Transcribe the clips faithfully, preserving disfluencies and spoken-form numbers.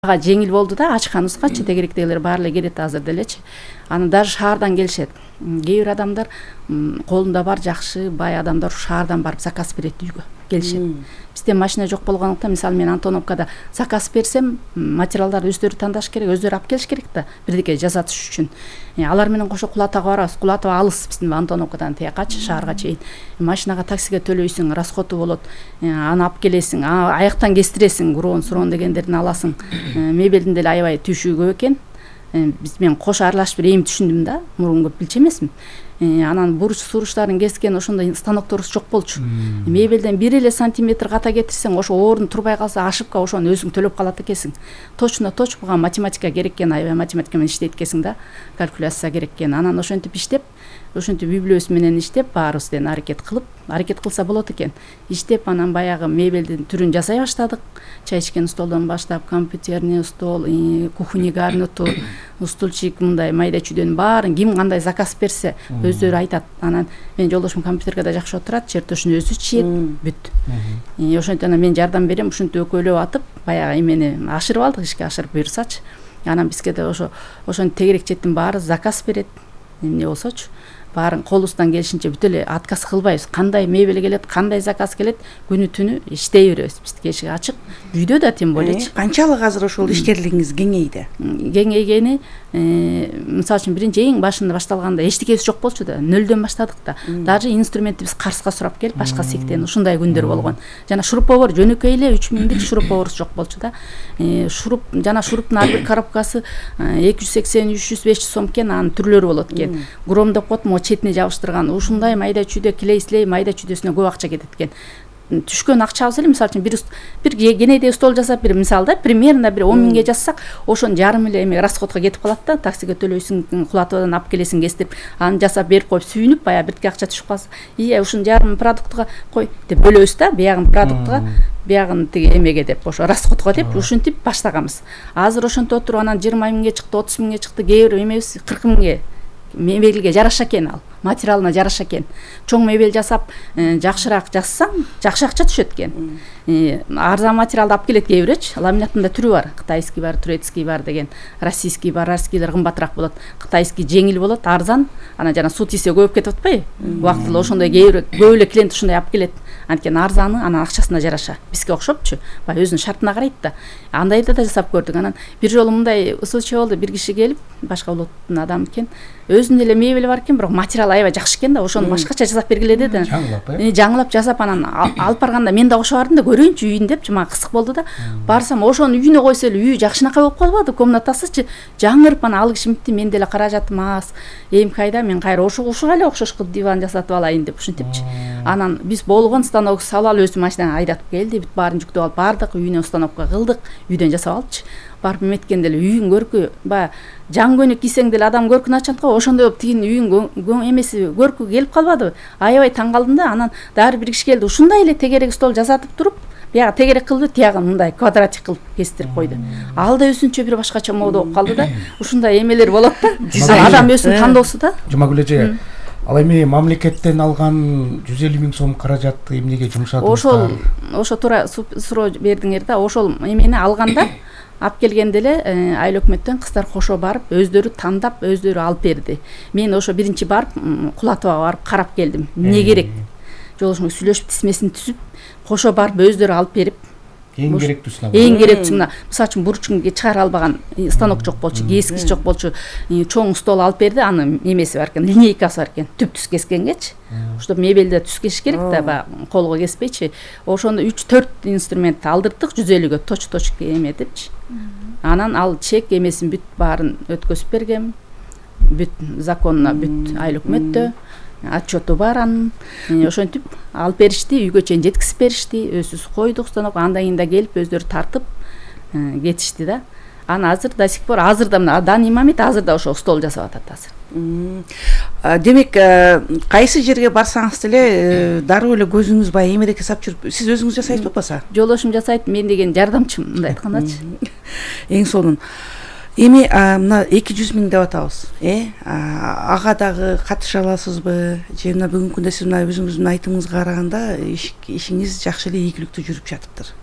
ага жеңил болду да, ачканыбызгачы тегеректегилер баары эле келет азыр делечи. Аны даже шаардан келишет. Кээ бир адамдар колунда бар жакшы бай адамдар шаардан барып заказ берет, үйгө келишет. Бизде машина жок болгондуктан, мисалы мен Антоновкада заказ берсем, материалдарды өздөрү тандаш керек, өздөрү алып келиш керек да, бирдеке жасатыш үчүн. Алар менен кошо Кулатовго барабыз. Кулатов алыс биздин Антоновкадан тиякачы, шаарга чейин. Машинага, таксиге төлөйсүң, расходу болот. Аны алып келесиң, аяктан кестиресиң, курон, сурон дегендерин аласың. Мебелдин деле аябай түйшүгү көп экен. Биз мен кош аралашып бир эми түшүндүм да, мурун көп билчү эмесмин. Анан буруч суруштарын кескен ошондой станокторубуз жок болчу. Мебелден бир эле сантиметр ката кетирсең, ошо орун турбай калса, ошибка ошону өзүң төлөп калат экенсиң. Точно точно буга математика керек экен, аябай математика менен иштейт экенсиң да, калькуляция керек экен. Анан ошентип иштеп, ошентип үй бүлөбүз менен иштеп, баарыбызден аракет кылып, аракет кылса болот экен. Иштеп, анан баягы мебелдин түрүн жасай баштадык. Чай ичкен столдон баштап, компьютерный стол, кухонный гарнитур, стульчик, мындай майда чүйдөнүн баарын ким кандай заказ берсе, өздөрү айтат. Анан мен жолдошум компьютерге жакшы отурат, чертежин өзү чийет, бүт. Ошентип анан мен жардам берем, ушинтип экөөлөп атып, баягы эмени ашырып алдык, ишке ашырып буйрсачы. Анан бизге да ошо ошонун тегерекчеттин баары заказ берет. Эмне болсочу, баарын колубуздан келишинче бүт эле отказ кылбайбыз. Кандай мебель келет, кандай заказ келет, күнү түнү иштей беребиз. Биздики эшик ачык. Үйдө да тем более. Канчалык азыр ошол ишкерлигиңиз кеңейди? Кеңейгени, мисалы үчүн биринчи эң башында башталганда эчтекебиз жок болчу да, нөлдөн баштадык да. Даже инструментти биз Карска сурап келип, башка сектен ушундай күндөр болгон. Жана шуруповер жөнөкөй эле үч миңдик шуруповерубуз жок болчу да. Шуруп, жана шуруптун ар бир коробкасы эки жүз сексен, үч жүз, беш жүз сом экен, анын түрлөрү болот экен. Гром деп коет, могу четине жабыштырган. Ушундай майда чүйдө клей-слей майда чүйдөсүнө көп акча кетет экен. Түшкөн акчабыз эле, мисалы үчүн бир бир кенедей стол жасап, бир мисалда примерно бир он миңге жазсак, ошонун жарым эле эме расходко кетип калат да. Таксиге төлөйсүң, Кулатовдон алып келесиң, кестирип, аны жасап берип коюп сүйүнүп, баягы биртке акча түшүп калса, ия ушунун жарымын продуктка кой деп бөлөбүз да, биягын продуктка, биягын тиги эмеге деп, ошо расходко деп ушинтип баштаганбыз. Азыр ошентип отуруп анан жыйырма миңге чыкты, отуз миңге чыкты, кээ бир эмебиз кырк миңге. Мебелге жараша экен ал, материалына жараша экен. Чоң мебель жасап, жакшыраак жазсаң, жакшы акча түшөт экен. Арзан материалды алып келет кээ бирөчү. Ламинаттын да түрү бар. Кытайский бар, турецкий бар деген. Российский бар, российскийлер кымбатыраак болот. Кытайский жеңил болот, арзан. Анан жана суу тийсе көп кетип атпайбы? Убактылуу ошондой кээ бир көп эле клиент ушундай алып келет. Анткени арзаны, анан акчасына жараша. Бизге окшопчу. Баягы өзүнүн шартына карайт да. Андайды да жасап көрдүк. Анан бир жолу мындай случай болду. Бир киши келип, башка улуттун адамы экен. Өзүнүн эле мебели бар экен, бирок материал аябай жакшы экен да, ошону башкача жасап бергиле деди. Жаңылап, э? Жаңылап жасап анан алып барганда мен да кошо бардым да, көрөйүнчү үйүн депчи, мага кызык болду да. Барсам ошонун үйүнө койсо эле үйү жакшынакай болуп калбады, комнатасычы жаңырып, анан ал киши митти, мен деле каражатым аз. Эми кайда мен кайра ошого ушуга эле окшош кылып диван жасатып алайын деп ушинтипчи. Анан биз болгон станок салып алып өзү машинадан айдатып келди, бүт баарын жүктөп алып бардык, үйүнө установка кылдык, үйдөн жасап алыпчы. Барып эметкенде эле үйүң көркү, баягы жан көйнөк кийсең деле адам көркүн ачат го, ошондой болуп тигинин үйүн эмеси көркү келип калбадыбы? Аябай таң калдым да. Анан дагы бир киши келди, ушундай эле тегерек стол жасатып туруп, биягы тегерек кылды, тиягын мындай квадратик кылып кестирип койду. Ал да өзүнчө бир башкача мода болуп калды да. Ушундай эмелер болот да. Адам өзүнүн тандоосу да. Жумагүл эже, ал эми мамлекеттен алган жүз элүү миң сом каражатты эмнеге жумшадыңыздар? Ошол ошо туура суроо бердиңер да. Ошол эмени алганда алып келгенде эле айыл өкмөттөн кыздар кошо барып, өздөрү тандап, өздөрү алып берди. Мен ошо биринчи барып Кулатовго барып карап келдим. Эмне керек? Жолдошумга сүйлөшүп, тизмесин түзүп, кошо барып өздөрү алып берип, эң керектүүсүн алып. Эң керектүүсүн мына, мисалы үчүн бурчун чыгара албаган станок жок болчу, кескич жок болчу, чоң стол алып берди, анын эмеси бар экен, линейкасы бар экен, түп түз кескенгечи. Ошто мебелде түз кесиш керек да, баягы колго кеспейчи. Ошондо үч төрт инструмент алдырдык, жүз элүүгө точ-точ эметипчи. Анан ал чек эмесин бүт баарын өткөзүп берген. Бүт законно бүт айыл өкмөттө отчету бар анын. Ошентип алып беришти, үйгө чейин жеткизип беришти. Өзүбүз койдук станок, андан кийин да келип өздөрү тартып кетишти да. Аны азыр до сих пор, азыр да мына данный момент азыр да ошо стол жасап атат азыр. Демек, кайсы жерге барсаңыз деле дароо эле көзүңүз баягы эмедеке сап жүрүп, сиз өзүңүз жасайсызбы болбосо? Жолдошум жасайт, мен деген жардамчым, мындай айткандачы. Эң сонун. Эми мына эки жүз миң деп атабыз, э? Ага дагы катыша аласызбы? Же мына бүгүнкү күндө сиз мына өзүңүздүн айтымыңызга караганда ишиңиз жакшы эле ийгиликтүү жүрүп жатыптыр.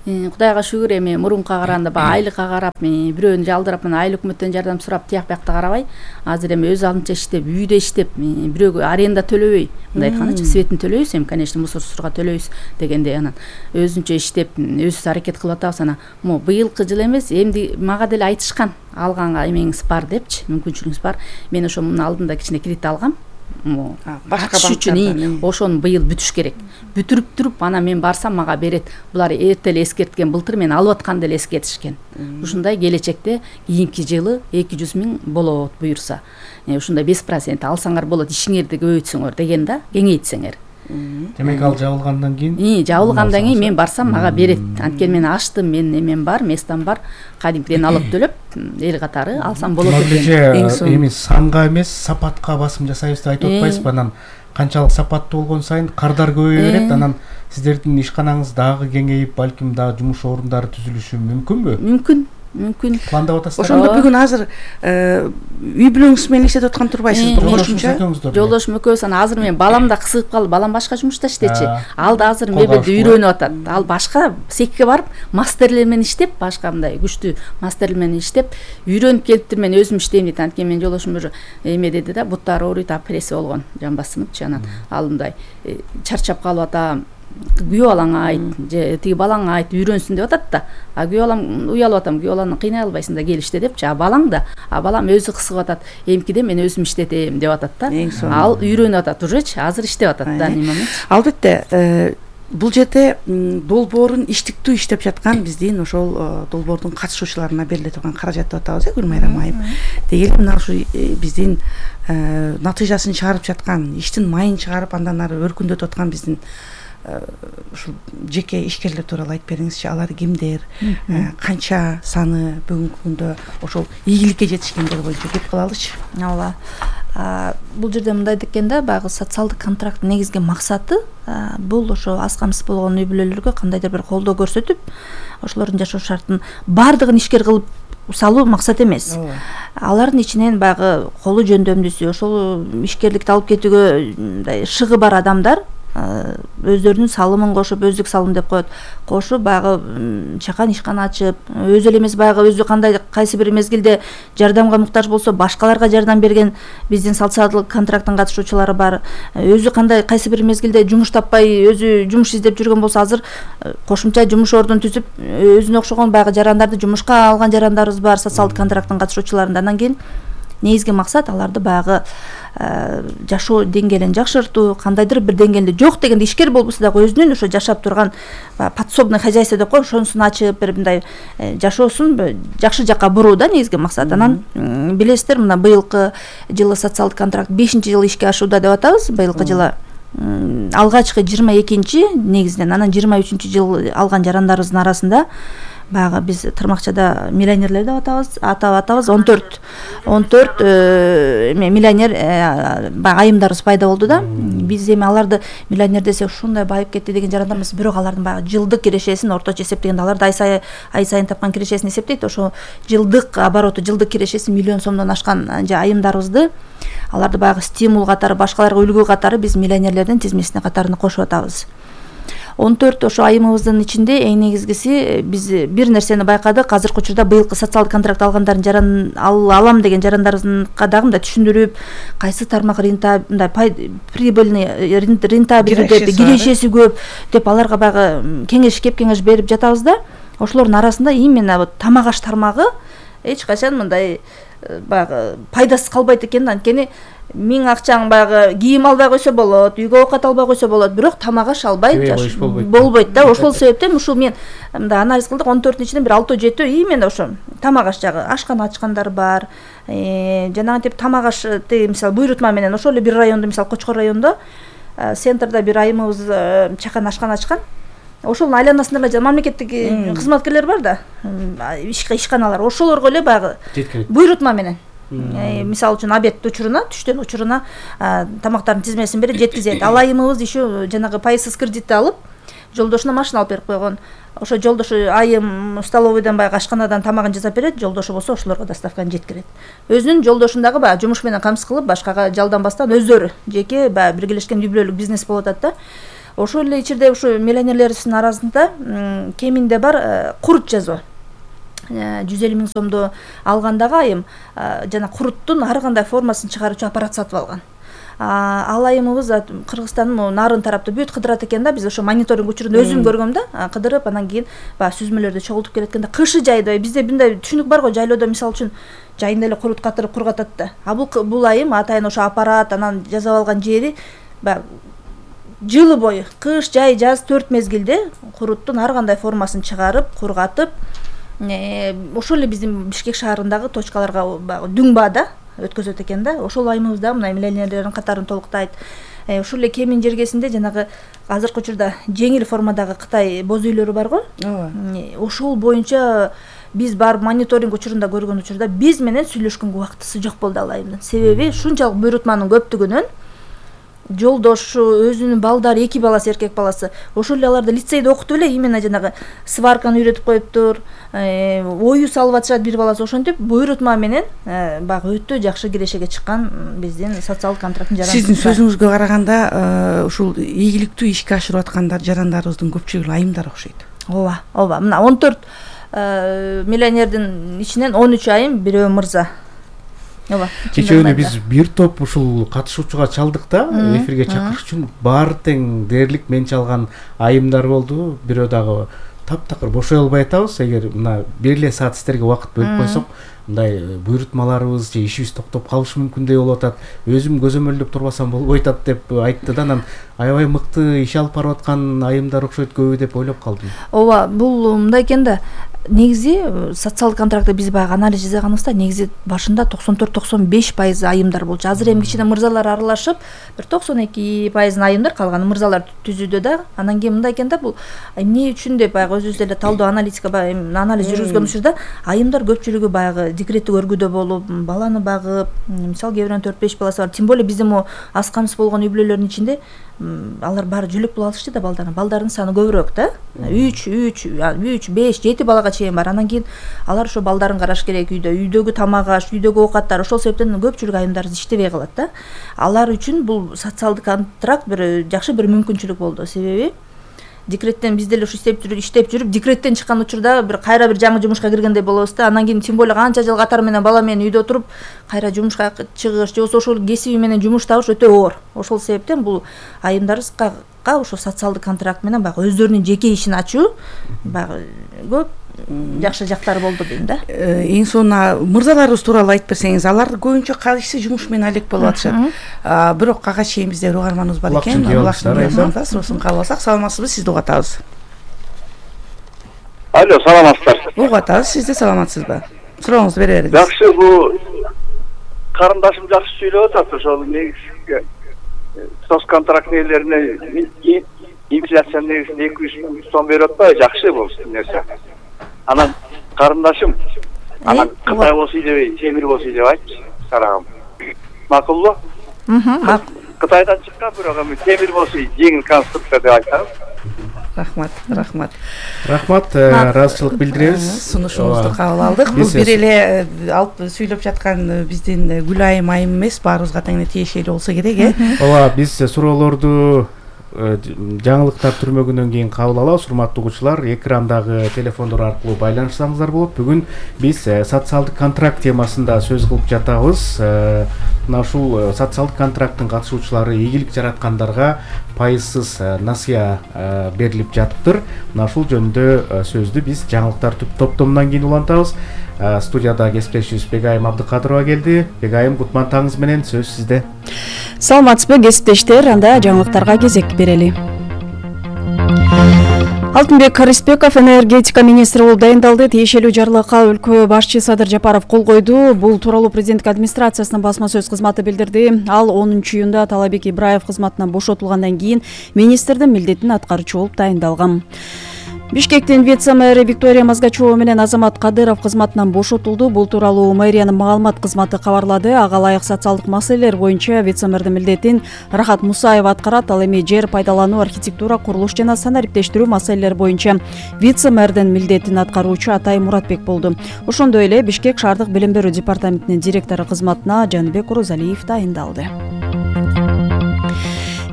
Кудайга шүгүр, эми мурунка караганда баягы айлыкка карап, бирөөнү жалдырап, мына айыл өкмөттөн жардам сурап тияк биякта карабай, азыр эми өз алдынча иштеп, үйдө иштеп, бирөөгө аренда төлөбөй, мындай айткандачы, светин төлөйбүз, эми конечно мусор сууга төлөйбүз дегендей, анан өзүнчө иштеп, өзүбүз аракет кылып атабыз. Анан могу быйылкы жыл эмес, эмди мага деле айтышкан, алганга эмеңиз бар депчи, мүмкүнчүлүгүңүз бар. Мен ошо мунун алдында кичине кредит алгам. Башка банктардан ошону быйыл бүтүш керек. Бүтүрүп туруп, анан мен барсам мага берет. Булар эрте эле эскерткен, былтыр мен алып атканда эле эскертишкен. Ушундай келечекте кийинки жылы эки жүз миң болот буюрса. Ушундай беш процент алсаңар болот, ишиңерди көбөйтсөңөр деген да, кеңейтсеңер. Демек ал жабылгандан кийин? Жабылгандан кийин мен барсам мага берет. Анткени мен аштым, мен эмем бар, местам бар. Кадимкиден алып төлөп, эл катары алсам болот экен. Эми санга эмес, сапатка басым жасайбыз деп айтып атпайсызбы? Анан канчалык сапаттуу болгон сайын кардар көбөйө берет, анан сиздердин ишканаңыз дагы кеңейип, балким дагы жумуш орундары түзүлүшү мүмкүнбү? Мүмкүн. Мүмкүн. Пландап атасыздар. Ошондо бүгүн азыр үй бүлөңүз менен иштеп аткан турбайсызбы? Кошумча. Жолдошум экөөбүз, анан азыр мен балам да кысылып калды. Балам башка жумушта иштечи. Ал да азыр мебелди үйрөнүп атат. Ал башка секке барып, мастерлер менен иштеп, башка мындай күчтүү мастерлер менен иштеп, үйрөнүп келиптир. Мен өзүм иштейм дейт. Анткени мен жолдошум уже эме деди да, буттары ооруйт, апрессия болгон, жамбасымчы. Анан ал мындай чарчап калып атам. Күйөө балаңа айт, же тиги балаңа айт, үйрөнсүн деп атат да. А күйөө балам уялып атам, күйөө баланы кыйнай албайсың да, келиште депчи. А балаң да, а балам өзү кысып атат. Эмкиде мен өзүм иштетем деп атат да. Ал үйрөнүп атат ужечи, азыр иштеп атат да немемен. Албетте, бул жерде долбоорун иштиктүү иштеп жаткан биздин ошол долбоордун катышуучуларына бериле турган каражат деп атабыз, э, Гүлмайрам айым. Дегеле мына ушу биздин натыйжасын чыгарып жаткан, иштин майын чыгарып, андан ары өркүндөтүп аткан биздин ушул жеке ишкерлер тууралуу айтып бериңизчи. Алар кимдер, канча саны бүгүнкү күндө ошол ийгиликке жетишкендер боюнча кеп кылалычы. Ооба. Бул жерде мындай экен да, баягы социалдык контракттын негизги максаты бул ошо аз камсыз болгон үй бүлөлөргө кандайдыр бир колдоо көрсөтүп, ошолордун жашоо шартын баардыгын ишкер кылып салуу максат эмес. Алардын ичинен баягы колу жөндөмдүүсү, ошол ишкерликти алып кетүүгө мындай шыгы бар адамдар өздөрүнүн салымын кошуп, өздүк салым деп коет, кошуп баягы чакан ишкана ачып, өзү эле эмес баягы өзү кандай кайсы бир мезгилде жардамга муктаж болсо башкаларга жардам берген биздин социалдык контракттын катышуучулары бар. Өзү кандай кайсы бир мезгилде жумуш таппай, өзү жумуш издеп жүргөн болсо азыр кошумча жумуш ордун түзүп, өзүнө окшогон баягы жарандарды жумушка алган жарандарыбыз бар, социалдык контракттын катышуучуларында. Андан кийин негизги максат аларды баягы жашоо деңгээлин жакшыртуу, кандайдыр бир деңгээлде жок дегенде ишкер болбосо дагы өзүнүн ошо жашап турган подсобный хозяйство деп коет, ошонусун ачып бир мындай жашоосун жакшы жакка буруу да негизги максат. Анан билесиздер, мына быйылкы жылы социалдык контракт бешинчи жыл ишке ашууда деп атабыз. Быйылкы жылы алгачкы жыйырма экинчи негизинен, анан жыйырма үчүнчү жыл алган жарандарыбыздын арасында баягы биз тырмакчада миллионерлер деп атабыз, атап атабыз. он төрт он төрт миллионер баягы айымдарыбыз пайда болду да. Биз эми аларды миллионер десек ушундай байып кетти деген жарандарыбыз, бирок алардын баягы жылдык кирешесин орточо эсептегенде аларды ай сайын ай сайын тапкан кирешесин эсептейт. Ошо жылдык обороту, жылдык кирешеси миллион сомдон ашкан айымдарыбызды, аларды баягы стимул катары, башкаларга үлгү катары биз миллионерлердин тизмесине катарына кошуп атабыз. он төрт ошо айымыбыздын ичинде эң негизгиси биз бир нерсени байкадык. Азыркы учурда быйылкы социалдык контракт алгандардын жаран алам деген жарандарыбызга дагы мындай түшүндүрүп, кайсы тармак рента мындай прибыльный рентабельный деп, кирешеси көп деп аларга баягы кеңеш кеп кеңеш берип жатабыз да. Ошолордун арасында именно вот тамак аш тармагы эч качан мындай баягы пайдасыз калбайт экен. Анткени миң акчаң баягы кийим албай койсо болот, үйгө оокат албай койсо болот, бирок тамак аш албай болбойт да. Ошол себептен ушул мен мындай анализ кылдык, он төртүнүн ичинен бир алты жети именно ошо тамак аш жагы ашкана ачкандар бар. Жанагынтип тамак аш мисалы буйрутма менен ошол эле бир райондо, мисалы Кочкор районунда центрда бир айымыбыз чакан ашкана ачкан. Ошонун айланасында эле мамлекеттик кызматкерлер бар да, ишканалар, ошолорго эле баягы буйрутма менен мисалы үчүн обед учуруна, түштөн учуруна тамактардын тизмесин берип жеткизет. Ал айымыбыз еще жанагы пайызсыз кредитти алып, жолдошуна машина алып берип койгон. Ошо жолдошу айым столовойдон баягы ашканадан тамагын жасап берет, жолдошу болсо ошолорго доставканы жеткирет. Өзүнүн жолдошун дагы баягы жумуш менен камсыз кылып, башкага жалданбастан өздөрү жеке баягы биргелешкен үй бүлөлүк бизнес болуп атат да. ошол эле ичирде ушу миллионерлерибиздин арасында кеминде бар курут жазуу жүз элүү миң сомду алгандагы айым жана куруттун ар кандай формасын чыгаруучу аппарат сатып алган. Ал айымыбыз Кыргызстандын могу нарын тарапты бүт кыдырат экен да, биз ошо мониторинг учурунда өзүм көргөм да, кыдырып анан кийин баягы сүзмөлөрдү чогултуп келеткенде кышы жайда бизде мындай түшүнүк бар го, жайлоодо мисалы үчүн жайында эле курут катырып кургатат да. А бул бул айым атайын ошо аппарат анан жасап алган жери баягы жылы бою кыш, жай, жаз төрт мезгилде куруттун ар кандай формасын чыгарып, кургатып, ошол эле биздин Бишкек шаарындагы точкаларга баягы дүң баада өткөзөт экен да. Ошол айымыбыз да мына миллионерлердин катарын толуктайт. Ушул эле Кемин жергесинде жанагы азыркы учурда жеңил формадагы Кытай боз үйлөрү бар го. Ошол боюнча биз барып мониторинг учурунда көргөн учурда биз менен сүйлөшкөнгө убактысы жок болду ал айымдын. Себеби ушунчалык буйрутманын көптүгүнөн жолдошу, өзүнүн балдары, эки баласы, эркек баласы, ошол эле аларды лицейде окутуп эле именно жанагы сварканы үйрөтүп коюптур, ою салып атышат бир баласы. Ошентип буйрутма менен баягы өтө жакшы кирешеге чыккан биздин социалдык контракттын жарандары. Сиздин сөзүңүзгө караганда ушул ийгиликтүү ишке ашырып аткандар жарандарыбыздын көпчүлүгү айымдар окшойт. Ооба, ооба. Мына он төрт миллионердин ичинен он үч айым, бирөө мырза. Ооба. Кечээ биз бир топ ушул катышуучуга чалдык да, эфирге чакырыш үчүн баары тең дээрлик мен чалган айымдар болду. Бирөө дагы таптакыр бошой албай атабыз. Эгер мына бир эле саат сиздерге убакыт бөлүп койсок, мындай буйрутмаларыбыз же ишибиз токтоп калышы мүмкүндөй болуп атат. Өзүм көзөмөлдөп турбасам болбойт атат деп айтты да. Анан аябай мыкты иш алып барып аткан айымдар окшойт көбү деп ойлоп калдым. Ооба, бул мындай экен да. Негизи социалдык контрактты биз баягы анализ жасаганыбызда негизи башында токсон төрт токсон беш пайыз айымдар болчу. Азыр эми кичине мырзалар аралашып, бир токсон эки пайыз айымдар, калганы мырзалар түзүүдө да. Анан кийин мындай экен да, бул эмне үчүн деп баягы өзүбүз деле талдоо аналитика анализ жүргүзгөн учурда айымдар көпчүлүгү баягы декреттик өргүдө болуп, баланы багып, мисалы кээ бирөөнүн төрт беш баласы бар. Тем более биздин могу аз камсыз болгон үй бүлөлөрдүн ичинде алар баары жөлөк болуп алышты да балдарын. Балдардын саны көбүрөөк да. үч, үч, үч, беш, жети балага чейин бар. Анан кийин алар ошо балдарын караш керек, үйдө, үйдөгү тамак аш, үйдөгү оокаттар. Ошол себептен көпчүлүк айымдар иштебей калат да. Алар үчүн бул социалдык контракт бир жакшы бир мүмкүнчүлүк болду. Себеби декреттен биз деле ушу иштеп жүрүп, иштеп жүрүп, декреттен чыккан учурда бир кайра бир жаңы жумушка киргендей болобуз да. Анан кийин тем более канча жыл катары менен бала менен үйдө туруп, кайра жумушка чыгыш, же болбосо ошол кесиби менен жумуш табыш өтө оор. Ошол себептен бул айымдарыбызга ошо социалдык контракт менен баягы өздөрүнүн жеке ишин ачуу баягы көп жакшы жактары болду дейм да. Эң сонуна мырзаларыбыз тууралуу айтып берсеңиз, алар көбүнчө кайсы жумуш менен алек болуп атышат. Бирок ага чейин бизде угарманыбыз бар экен. Улакчын суросун кабыл алсак, саламатсызбы, сизди угуп атабыз. Алло, саламатсыздар. Угуп атабыз, сиз да саламатсызбы? Сурооңузду бере бериңиз. Жакшы, бул карындашым жакшы сүйлөп атат, ошол негизги соцконтракт нелерине инфляция негизинде эки жүз сом берип атпайбы? Жакшы бул нерсе. Анан карындашым анан Кытай болсо дебей, темир болсо деп айтчы, сарагым. Макулбу? Мм. Кытайдан чыккан бирок эми темир болсо жеңил конструкция деп айтабыз. Рахмат, рахмат. Рахмат, ыраазычылык билдиребиз. Сунушуңузду кабыл алдык. Бул бир эле алып сүйлөп жаткан биздин Гүлайым айым эмес, баарыбызга тең эле тиешелүү болсо керек, э? Ооба, биз суроолорду жаңылыктар түрмөгүнөн кийин кабыл алабыз. Урматтуу угуучулар, экрандагы телефондор аркылуу байланышсаңыздар болот. Бүгүн биз социалдык контракт темасында сөз кылып жатабыз. Мына ушул социалдык контракттын катышуучулары ийгилик жараткандарга пайызсыз насыя берилип жатыптыр. Мына ушул жөнүндө сөздү биз жаңылыктар топтомунан кийин улантабыз. Студияда кесиптешибиз Бегайым Абдыкадырова келди. Бегайым, кутман таңыңыз менен, сөз сизде. Саламатсызбы кесиптештер, анда жаңылыктарга кезек берели. Алтынбек Рыспеков энергетика министри болуп дайындалды. Тиешелүү жарлыкка өлкө башчы Садыр Жапаров кол койду. Бул тууралуу президенттик администрациясынын басма сөз кызматы билдирди. Ал онунчу июнда Талабек Ибраев кызматынан бошотулгандан кийин министрдин милдетин аткаруучу болуп дайындалган. Бишкектин вице-мэри Виктория Мазгачева менен Азамат Кадыров кызматынан бошотулду. Бул тууралуу мэриянын маалымат кызматы кабарлады. Ага ылайык социалдык маселелер боюнча вице-мэрдин милдетин Рахат Мусаева аткарат. Ал эми жер пайдалануу, архитектура, курулуш жана санариптештирүү маселелери боюнча вице-мэрдин милдетин аткаруучу Атай Муратбек болду. Ошондой эле Бишкек шаардык билим берүү департаментинин директору кызматына Жаныбек Орозалиев дайындалды.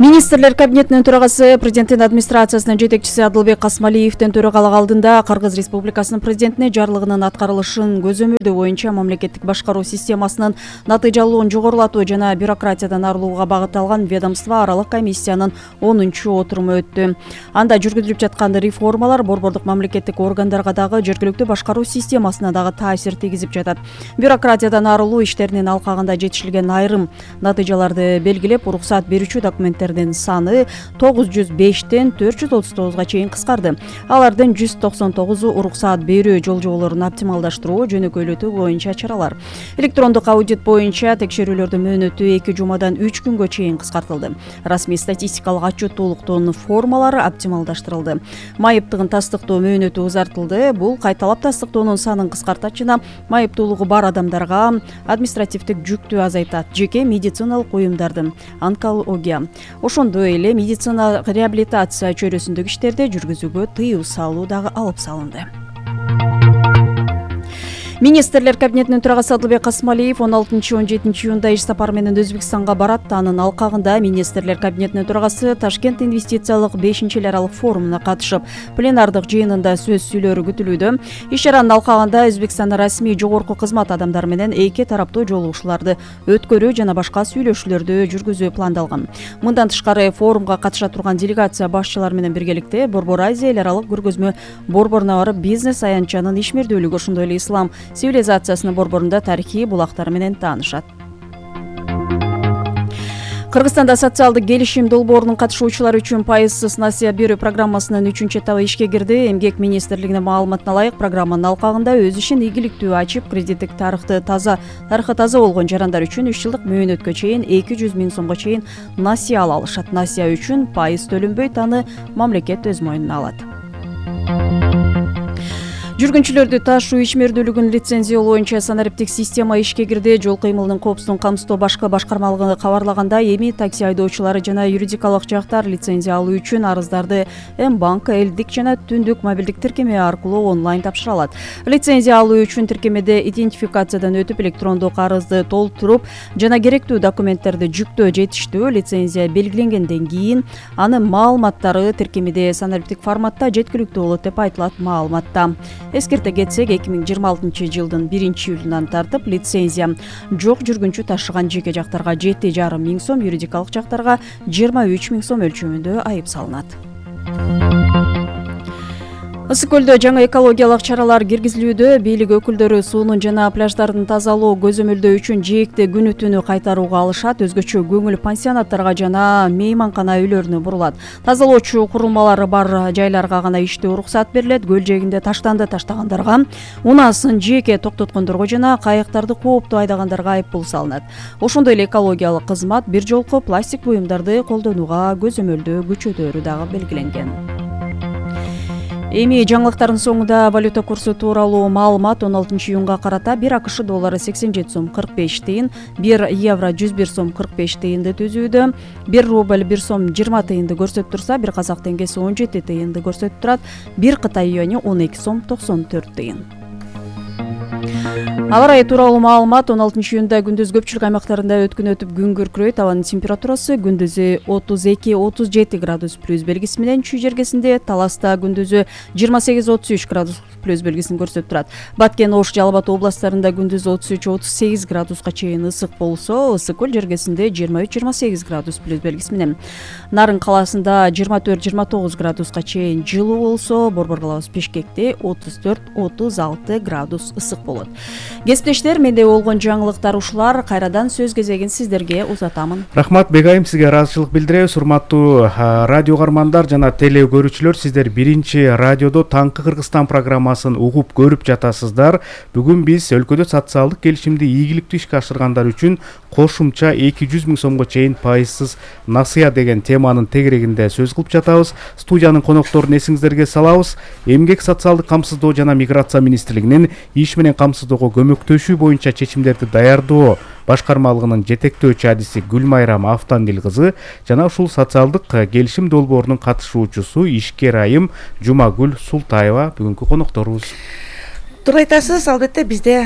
Министрлер кабинетинин төрагасы президенттин администрациясынын жетекчиси Адылбек Касмалиевдин төрагалык алдында Кыргыз Республикасынын президентине жарлыгынын аткарылышын көзөмөлдөө боюнча мамлекеттик башкаруу системасынын натыйжалуулугун жогорулатуу жана бюрократиядан арылууга багытталган ведомство аралык комиссиянын онунчу отуруму өттү. Анда жүргүзүлүп жаткан реформалар борбордук мамлекеттик органдарга дагы жергиликтүү башкаруу системасына дагы таасир тийгизип жатат. Бюрократиядан арылуу иштеринин алкагында жетишилген айрым натыйжаларды белгилеп, уруксаат берүүчү документтердин саны тогуз жүз бештен төрт жүз отуз тогузга чейин кыскарды. Алардын жүз токсон тогузу уруксаат берүү жол-жоболорун оптималдаштыруу, жөнөкөйлөтүү боюнча чаралар. Электрондук аудит боюнча текшерүүлөрдүн мөөнөтү эки жумадан үч күнгө чейин кыскартылды. Расмий статистикалык отчеттуулуктун формалары оптималдаштырылды. Майыптыгын тастыктоо мөөнөтү узартылды. Бул кайталап тастыктоонун санын кыскартат жана майыптуулугу бар адамдарга административдик жүктү азайтат. Жеке медициналык уюмдардын онкология, ошондой эле медицина реабилитация чөйрөсүндөгү иштерди жүргүзүүгө тыюу салуу дагы алып салынды. Министрлер кабинетинин төрагасы Адылбек Касмалиев он алтынчы он жетинчи июнда иш сапары менен Өзбекстанга барат. Анын алкагында Министрлер кабинетинин төрагасы Ташкент инвестициялык бешинчи эл аралык форумуна катышып, пленардык жыйынында сөз сүйлөрү күтүлүүдө. Иш чаранын алкагында Өзбекстандын расмий жогорку кызмат адамдары менен эки тараптуу жолугушууларды өткөрүү жана башка сүйлөшүүлөрдү жүргүзүү пландалган. Мындан тышкары форумга катыша турган делегация башчылары менен биргеликте Борбор Азия эл аралык көргөзмө борборуна барып, бизнес аянтчанын ишмердүүлүгү, ошондой эле ислам цивилизациясынын борборунда тарыхый булактары менен таанышат. Кыргызстанда социалдык келишим долбоорунун катышуучулары үчүн пайызсыз насыя берүү программасынын үчүнчү этабы ишке кирди. Эмгек министрлигинин маалыматына ылайык, программанын алкагында өз ишин ийгиликтүү ачып, кредиттик тарыхты таза тарыхы таза болгон жарандар үчүн үч жылдык мөөнөткө чейин эки жүз миң сомго чейин насыя ала алышат. Насыя үчүн пайыз төлөнбөйт, аны мамлекет өз мойнуна алат. Жүргүнчүлөрдү ташуу ишмердүүлүгүн лицензиялоо боюнча санариптик система ишке кирди. Жол кыймылынын коопсуздугун камсыздоо башкы башкармалыгы кабарлагандай, эми такси айдоочулары жана юридикалык жактар лицензия алуу үчүн арыздарды М-банк, элдик жана түндүк мобилдик тиркеме аркылуу онлайн тапшыра алат. Лицензия алуу үчүн тиркемеде идентификациядан өтүп, электрондук арызды толтуруп жана керектүү документтерди жүктөө жетиштүү. Лицензия белгиленгенден кийин анын маалыматтары тиркемеде санариптик форматта жеткиликтүү болот деп айтылат маалыматта. Эскерте кетсек, эки миң жыйырма алтынчы жылдын биринчи июлунан тартып лицензия жок жүргүнчү ташыган жеке жактарга жети жарым миң сом, юридикалык жактарга жыйырма үч миң сом өлчөмүндө айып салынат. Ысык көлдө жаңы экологиялык чаралар киргизилүүдө. Бийлик өкүлдөрү суунун жана пляждардын тазалоо көзөмөлдөө үчүн жээкти күнү түнү кайтарууга алышат. Өзгөчө көңүл пансионаттарга жана мейманкана үйлөрүнө бурулат. Тазалоочу курулмалары бар жайларга гана иштөө уруксаат берилет. Көл жээгинде таштанды таштагандарга, унаасын жеке токтоткондорго жана кайыктарды кооптуу айдагандарга айып пул салынат. Ошондой эле экологиялык кызмат бир жолку пластик буюмдарды колдонууга көзөмөлдөө күчөтөөрү дагы белгиленген. Эми жаңылыктардын соңунда валюта курсу тууралуу маалымат. он алтынчы июнга карата бир АКШ доллары сексен жети сом кырк беш тыйын, бир евро жүз бир сом кырк беш тыйынды түзүүдө, бир рубль бир сом жыйырма тыйынды көрсөтүп турса, бир казак теңгеси он жети тыйынды көрсөтүп турат, бир Кытай юаньи он эки сом токсон төрт тыйын. Аба ырайы тууралуу маалымат. он алтынчы июнда күндүз көпчүлүк аймактарында өткүн өтүп күн күркүрөйт. Абанын температурасы күндүзү отуз эки отуз жети градус плюс белгиси менен, чүй жергесинде Таласта күндүзү жыйырма сегиз отуз үч градус плюс белгисин көрсөтүп турат. Баткен, Ош, Жалал Абад областарында күндүз отуз үч отуз сегиз градуска чейин ысык болсо, Ысык көл жергесинде жыйырма үч жыйырма сегиз градус плюс белгиси менен. Нарын калаасында жыйырма төрт жыйырма тогуз градуска чейин жылуу болсо, Борбор калабыз Бишкекте отуз төрт отуз алты градус ысык болот. Кесиптештер, менде болгон жаңылыктар ушулар. Кайрадан сөз кезегин сиздерге узатамын. Рахмат Бегайым, сизге ыраазычылык билдиребиз. Урматтуу радио угармандар жана теле көрүүчүлөр, сиздер биринчи радиодо Таңкы Кыргызстан программасын угуп көрүп жатасыздар. Бүгүн биз өлкөдө социалдык келишимди ийгиликтүү ишке ашыргандар үчүн кошумча эки жүз миң сомго чейин пайызсыз насыя деген теманын тегерегинде сөз кылып жатабыз. Студиянын конокторун эсиңиздерге салабыз. Эмгек, социалдык камсыздоо жана миграция министрлигинин иш менен камсыздоого көмөктөшүү боюнча чечимдерди даярдоо башкармалыгынын жетектөөчү адиси Гүлмайрам Автандил кызы жана ушул социалдык келишим долбоорунун катышуучусу ишкер айым Жумагүл Султаева бүгүнкү конокторубуз. Туура айтасыз, албетте бизде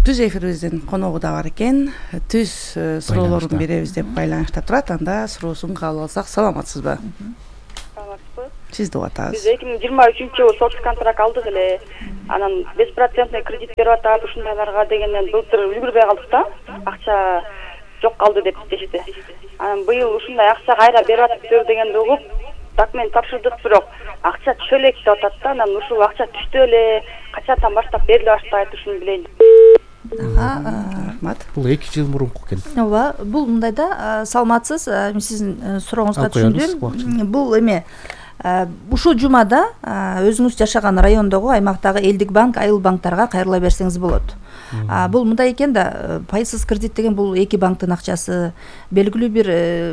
түз эфирибиздин коногу да бар экен. Түз суроолорун беребиз деп байланышта турат. Анда суроосун кабыл алсак, саламатсызбы? Саламатсызбы? Сизди угуп атабыз. Биз эки миң жыйырма үчүнчү жылы соц контракт алдык эле. Анан беш процентный кредит берип атат ушундайларга дегенден былтыр үлгүрбөй калдык да. Акча жок калды деп дешти. Анан быйыл ушундай акча кайра берип атыптыр дегенди угуп, документ тапшырдык, бирок акча түшө элек деп атат да. Анан ушул акча түштү эле, качандан баштап бериле баштайт, ушуну билейин. Рахмат. Бул эки жыл мурунку экен. Ооба, бул мындай да, саламатсыз, мен сиздин сурооңузга түшүндүм. Бул эме ушул жумада өзүңүз жашаган райондогу, аймактагы элдик банк, айыл банктарга кайрыла берсеңиз болот. Бул мындай экен да, пайсыз кредит деген бул эки банктын акчасы, белгилүү бир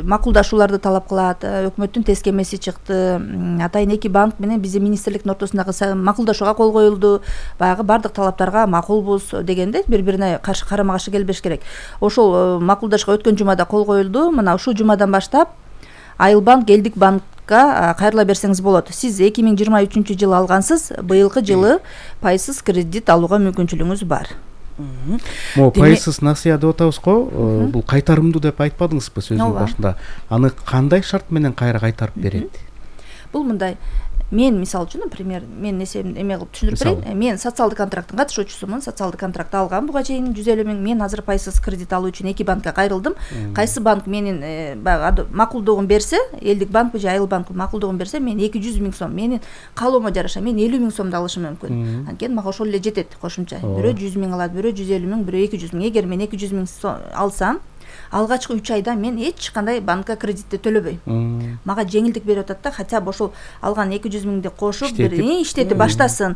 макулдашууларды талап кылат. Өкмөттүн тескемеси чыкты. Атайын эки банк менен биздин министрликтин ортосундагы макулдашууга кол коюлду. Баягы бардык талаптарга макулбуз дегенде бири-бирине каршы карама каршы келбеш керек. Ошол макулдашууга өткөн жумада кол коюлду. Мына ушул жумадан баштап айыл банк, элдик банк кайрыла берсеңиз болот. Сиз эки миң жыйырма үчүнчү жылы алгансыз, быйылкы жылы пайсыз кредит алууга мүмкүнчүлүгүңүз бар. Могу пайсыз насыя деп атабыз го, бул кайтарымдуу деп айтпадыңызбы сөзүнүн башында? Аны кандай шарт менен кайра кайтарып берет? Бул мындай, мен мисалы үчүн, например, мен эсебимди эме кылып түшүндүрүп берейин. Мен социалдык контракттын катышуучусумун, социалдык контракт алгам буга чейин жүз элүү миң. Мен азыр пайсыз кредит алуу үчүн эки банкка кайрылдым. Кайсы банк менин баягы макулдугун берсе, элдик банкпы же айыл банкпы макулдугун берсе, мен эки жүз миң сом, менин каалоомо жараша мен элүү миң сомду алышым мүмкүн. Анткени мага ошол эле жетет кошумча. Бирөө жүз миң алат, бирөө жүз элүү миң, бирөө эки жүз миң. Эгер мен эки жүз миң алсам, алгачкы үч айда мен эч кандай банкка кредитти төлөбөйм. Мага жеңилдик берип атат да, хотя бы ошол алган эки жүз миңди кошуп бир иштетип баштасын,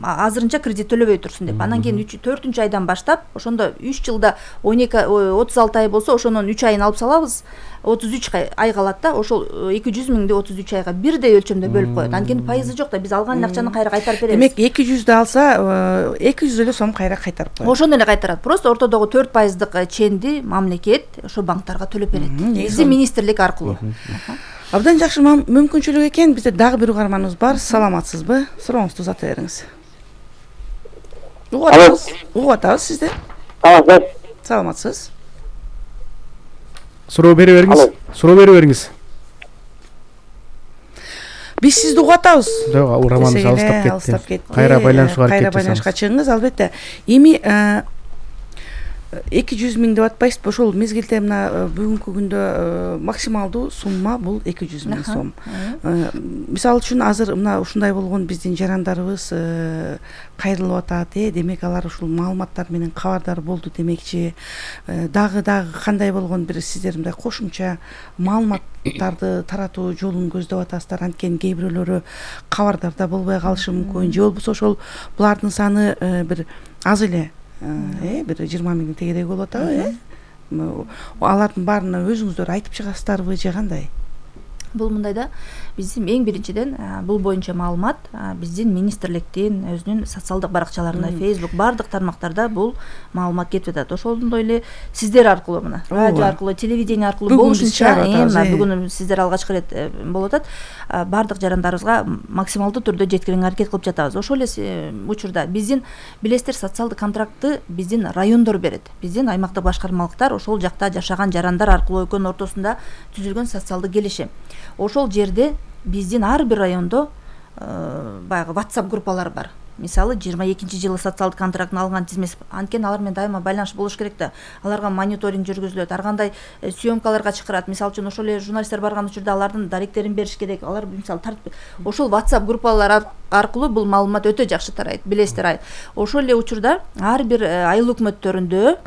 азырынча кредит төлөбөй турсун деп. Анан кийин төртүнчү айдан баштап, ошондо үч жылда он эки отуз алты ай болсо, ошонун үч айын алып салабыз. отуз үч ай калат да, ошол эки жүз миңди отуз үч айга бирдей өлчөмдө бөлүп коет. Анткени пайызы жок да, биз алган акчаны кайра кайтарып беребиз. Демек эки жүздү алса, эки жүз эле сом кайра кайтарып коет. Ошону эле кайтарат. Просто ортодогу төрт пайыздык ченди мамлекет ошо банктарга төлөп берет. Биздин министрлик аркылуу. Абдан жакшы мүмкүнчүлүк экен. Бизде дагы бир угарманыбыз бар. Саламатсызбы? Сурооңузду узата бериңиз. Угуп атабыз. Угуп атабыз сизди. Саламатсыз. Суроо бере бериңиз. Суроо бере бериңиз. Биз сизди угуп атабыз. Жок, ураманы алыстап кетти. Кайра байланышка аракет Кайра байланышка чыгыңыз, албетте. Эми эки жүз миң деп атпайсызбы? Ошол мезгилде мына бүгүнкү күндө максималдуу сумма бул эки жүз миң сом. Мисалы үчүн азыр мына ушундай болгон биздин жарандарыбыз кайрылып атат, э, демек алар ушул маалыматтар менен кабардар болду демекчи. Дагы дагы кандай болгон бир сиздер мындай кошумча маалыматтарды таратуу жолун көздөп атасыздар, анткени кээ бирөөлөрү кабардарда болбой калышы мүмкүн, же болбосо ошол булардын саны бир аз эле, э, бир жыйырма миңдин тегереги болуп атабы, э? Алардын баарына өзүңүздөр айтып чыгасыздарбы же кандай? Бул мындай да, биздин эң биринчиден бул боюнча маалымат биздин министрликтин өзүнүн социалдык баракчаларында, Facebook, бардык тармактарда бул маалымат кетип атат. Ошондой эле сиздер аркылуу, мына радио аркылуу, телевидение аркылуу болушунча, бүгүн сиздер алгачкы ирет болуп атат. Бардык жарандарыбызга максималдуу түрдө жеткирүүгө аракет кылып жатабыз. Ошол эле учурда биздин билесиздер, социалдык контрактты биздин райондор берет. Биздин аймактык башкармалыктар ошол жакта жашаган жарандар аркылуу экөөнүн ортосунда түзүлгөн социалдык келишим. Ошол жерде биздин ар бир райондо баягы WhatsApp группалар бар. Мисалы жыйырма экинчи жылы социалдык контрактын алган тизмеси, анткени алар менен дайыма байланыш болуш керек да. Аларга мониторинг жүргүзүлөт, ар кандай съемкаларга чакырат. Мисалы үчүн ошол эле журналисттер барган учурда алардын даректерин бериш керек. Алар мисалы тартып, ошол WhatsApp группалар аркылуу бул маалымат өтө жакшы тарайт. Билесиздер, ошол эле учурда ар бир айыл өкмөттөрүндө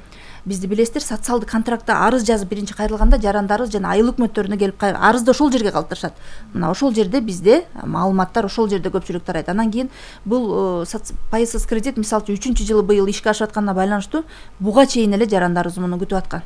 бизди билесиздер, социалдык контрактта арыз жазып биринчи кайрылганда жарандарыбыз жана айыл өкмөттөрүнө келип арызды ошол жерге калтырышат. Мына ошол жерде бизде маалыматтар ошол жерде көпчүлүк тарайт. Анан кийин бул пайсыз кредит мисалы үчүнчү жылы быйыл ишке ашып атканына байланыштуу буга чейин эле жарандарыбыз муну күтүп аткан.